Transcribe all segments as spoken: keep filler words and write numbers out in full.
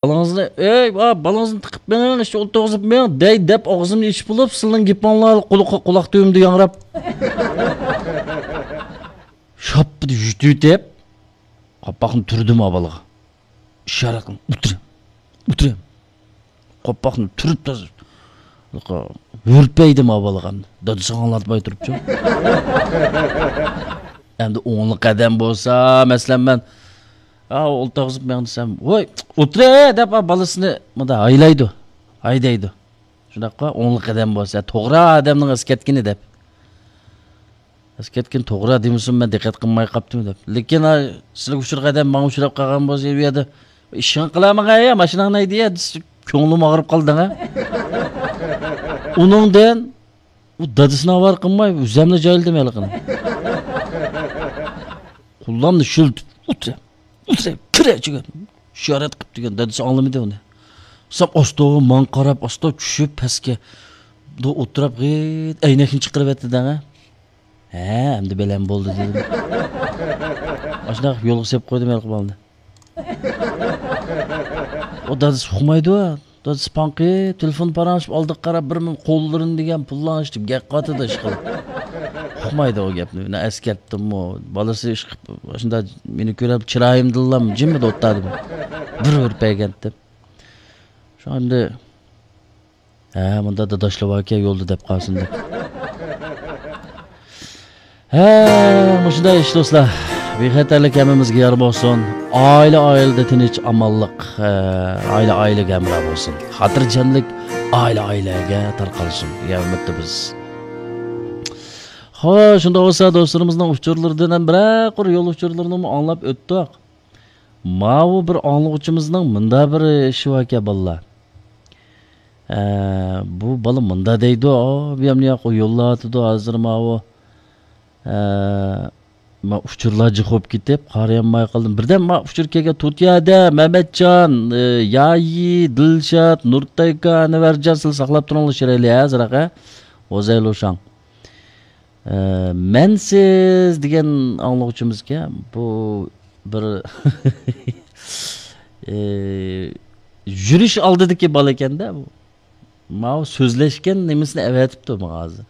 بالىڭىزنى، ئەي، ۋا، بالىڭىزنى تىقىپ مېڭىڭ، ئىشتە ئولتۇرغۇزۇپ مېڭىڭ دەي دەپ ئاغزىمنى ئېچىپ بولۇپ، سىلىنىڭ گېپىڭلار قۇلىقى، قۇلاق تۈۋىمدە ياڭراپ. شاپپىدە يۈتۈۋېتىپ، قاپاقنى تۈردۈم ئا بالىغا. ئىشارە قىلىپ، ئولتۇرۇڭ، ئولتۇرۇڭ. قاپاقنى تۈرۈپ تازا ھۈرپەيدىم ئا بالىغا ئەمدى. دادىسىغا ئاڭلاتماي تۇرۇپچۇ. ئەمدى ئوڭلۇق قەدەم بولسا، مەسىلەن، مەن، ئا، ئولتۇرغۇزۇپ مېڭ دېسەم، ۋوي، ئولتۇرە دەپ، ئا، بالىسىنى مۇنداق ھايلايدۇ، ھايدايدۇ. شۇنداققۇ، ئوڭلۇق قەدەم بولسا، توغرا ئادەمنىڭ ئەسكەرتكىنى دەپ. ئەسكەرتكىن توغرا دېمىسۇن، مەن دىققەت قىلماي قاپتىمەن دەپ. لېكىن، ھە، سىلىگە ئۇچۇر قەدەم، ماڭا ئۇچراپ قالغان بولسا، ئۇ يەردە، ئىشىڭ قىلامىغا يا، ماشىناڭنى ھەيدە يا، دېسە، كۆڭلۈم ئاغرىپ قالدىڭ ھە. ئۇنىڭدىن ئۇ دادىسىنى ئاۋارە قىلماي، ئۆزەملا جايلىدىم ھېلىقىنى. قوللامنى شىلتىپ، ئولتۇرە، ئولتۇرە، كىرە ئىچىگە. ئىشارەت قىپتۇ ئىكەن، دادىسى ئاڭلىمىدى ئۇنى. ساپ ئاستا ماڭا قاراپ، ئاستا چۈشۈپ پەسكە. بۇ ئولتۇراپ غىت ئەينەكنى چىقىرىۋەتتى دەڭە. ھە، ئەمدى بەلەم بولدى دېدىم. ئاشۇنداق يولغا سېلىپ قويدۇم ھېلىقى بالىنى. ئۇ دادىسى ئۇقمايدۇ. دادىسى پاڭقى، تېلېفون پاراڭلىشىپ ئالدىغا قاراپ بىر مىنۇت قوللىرىنى دېگەن پۇللارنى ئىشلىتىپ گەپ قاتىدۇ ئىشقىلىپ. ئۇقمايدۇ ئۇ گەپنى. مەن ئەسكەرتتىممۇ. بالىسى ئىشقىپ، شۇنداق مېنى كۆرۈپ چىرايىمدىنلا جىممىدە ئولتۇردىمۇ. بىر ھۈرپەيگەنتىم. شۇ ئەمدى ھە، مۇندا داداشلا باركەن يولدا دەپ قالسۇن دەپ. ھە، مۇشۇنداق ئىش دوستلار. بىخەتەرلىك ھەممىمىزگە يار بولسۇن. ئائىلە ئائىلىدە تىنچ، ئامانلىق، ھە، ئائىلە ئائىلىگە ھەمراھ بولسۇن. خاتىرجەملىك ئائىلە ئائىلىگە تارقالسۇن دېگەن ئۈمىدتە بىز. خوش، شۇنداق بولسا دوستلىرىمىزنىڭ ئۇچۇرلىرىدىن ھەم بىرەر قۇر يول ئۇچۇرلىرىنىمۇ ئاڭلاپ ئۆتتۇق. ماۋۇ بىر ئاڭلىغۇچىمىزنىڭ مۇندا بىر ئىشى باركەن بالىلار. ئە، بۇ بالا مۇندا دەيدۇ، ئا، بۇيام ياق، ئۇ يوللاۋاتىدۇ ھازىر ماۋۇ. ئە، ما ئۇچۇرلار جىق بولۇپ كېتىپ، قارىيالماي قالدىم. بىردەم ما ئۇچۇر كەلگەن، تۇتىيادە، مەمەتجان، ئە، يايى، دىلشات، نۇرتايكا، ئەنۋەرجان، سىلەر ساقلاپ تۇرۇڭلار، شىرەيلى، ھە، زىراق، ھە؟ ۋوزەيلۇشاڭ. ئە، مەنسىز دېگەن ئاڭلىغۇچىمىزكەن، بۇ بىر، ئە، يۈرۈش ئالدىدىكى بالا ئىكەندە بۇ. ماۋۇ سۆزلەشكەن نېمىسىنى ئەۋەتىپتۇ ماڭا ھازىر.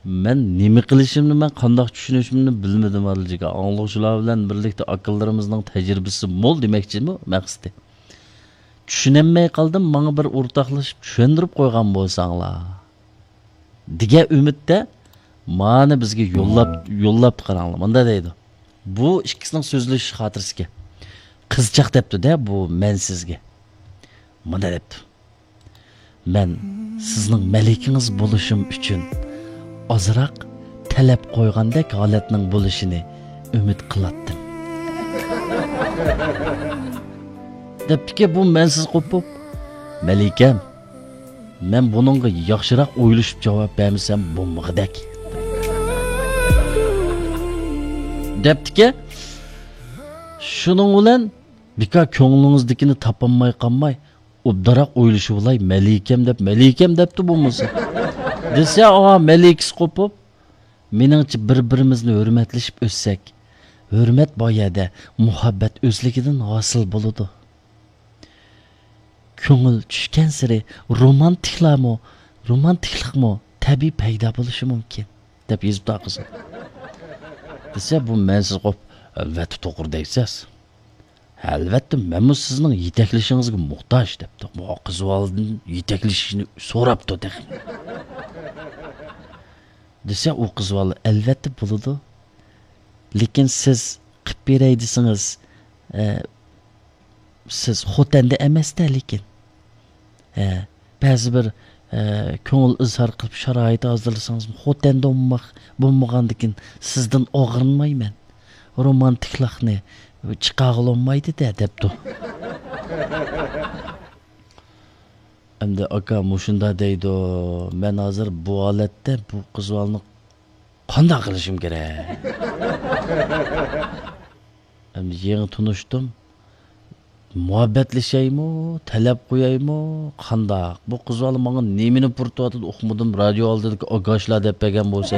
مەن نېمە قىلىشىمنى، مەن قانداق چۈشىنىشىمنى بىلمىدىم ھازىرغىچە. ئاڭلىغۇچىلار بىلەن بىرلىكتە ئاكىلىرىمىزنىڭ تەجرىبىسى مول دېمەكچىمۇ مەقسىتى. چۈشىنەلمەي قالدىم، ماڭا بىر ئورتاقلىشىپ چۈشەندۈرۈپ قويغان بولساڭلار. دېگەن ئۈمىدتە مانا بىزگە يوللاپ، يوللاپتۇ قاراڭلار. مۇندا دەيدۇ. بۇ ئىككىسىنىڭ سۆزلىشىش خاتىرىسىكەن. قىزچاق دەپتۇ-دە بۇ مەنسىزگە. مۇندا دەپتۇ. مەن سىزنىڭ مەلىكىڭىز بولۇشۇم ئۈچۈن ئازراق تەلەپ قويغاندەك ھالەتنىڭ بولۇشىنى ئۈمىد قىلاتتىم. دەپتىكى بۇ مەنسىز قوپۇپ، مەلىكەم، مەن بۇنىڭغا ياخشىراق ئويلىشىپ جاۋاب بەرمىسەم بولمىغۇدەك. دەپتىكى، شۇنىڭ بىلەن بىكار كۆڭلىڭىزدىكىنى تاپالماي قالماي، ئوبدانراق ئويلىشىۋالاي، مەلىكەم دەپ، مەلىكەم دەپتۇ بولمىسا. دېسە، ئاۋا مەلىكىسى قوپۇپ، مېنىڭچە بىر-بىرىمىزنى ھۆرمەتلىشىپ ئۆتسەك، ھۆرمەت بار يەردە مۇھەببەت ئۆزلۈكىدىن ھاسىل بولىدۇ. كۆڭۈل چۈشكەنسېرى رومانتىكلارمۇ، رومانتىكلىقمۇ تەبىئىي پەيدا بولۇشى مۇمكىن، دەپ يېزىپتۇ قىزى. دېسە، بۇ مەنسىز قوپ، ئەلۋەتتە توغرا دەيسىز. ئەلۋەتتە، مەنمۇ سىزنىڭ يېتەكلىشىڭىزگە موھتاج، دەپتۇ. بۇ قىز بالىدىن يېتەكلىشىشنى سوراپتۇ تېخى. دېسە، ئۇ قىز بالا، ئەلۋەتتە بولىدۇ. لېكىن سىز قىپ بېرەي دېسىڭىز، ئە، سىز خوتەندە ئەمەستە، لېكىن. ئە، بەزى بىر، ئە، كۆڭۈل ئىزھار قىلىپ شارائىت ھازىرلىسىڭىزمۇ، خوتەندە بولماق، بولمىغاندىكىن سىزدىن ئاغرىنمايمەن. رومانتىكلىقنى چىقارغىلى بولمايدۇ-دە، دەپتۇ. ئەمدى ئاكا مۇشۇنداق دەيدۇ، مەن ھازىر بۇ ھالەتتە بۇ قىز بالىنى قانداق قىلىشىم كېرەك؟ ئەمدى يېڭى تونۇشتۇم. مۇھەببەتلىشەيمۇ، تەلەپ قويايمۇ، قانداق؟ بۇ قىز بالا ماڭا نېمىنى پۇرىتىۋاتىدۇ ئۇقمىدىم، رادىيو ئالدىدىكى ئاگاشلار دەپ بەرگەن بولسا.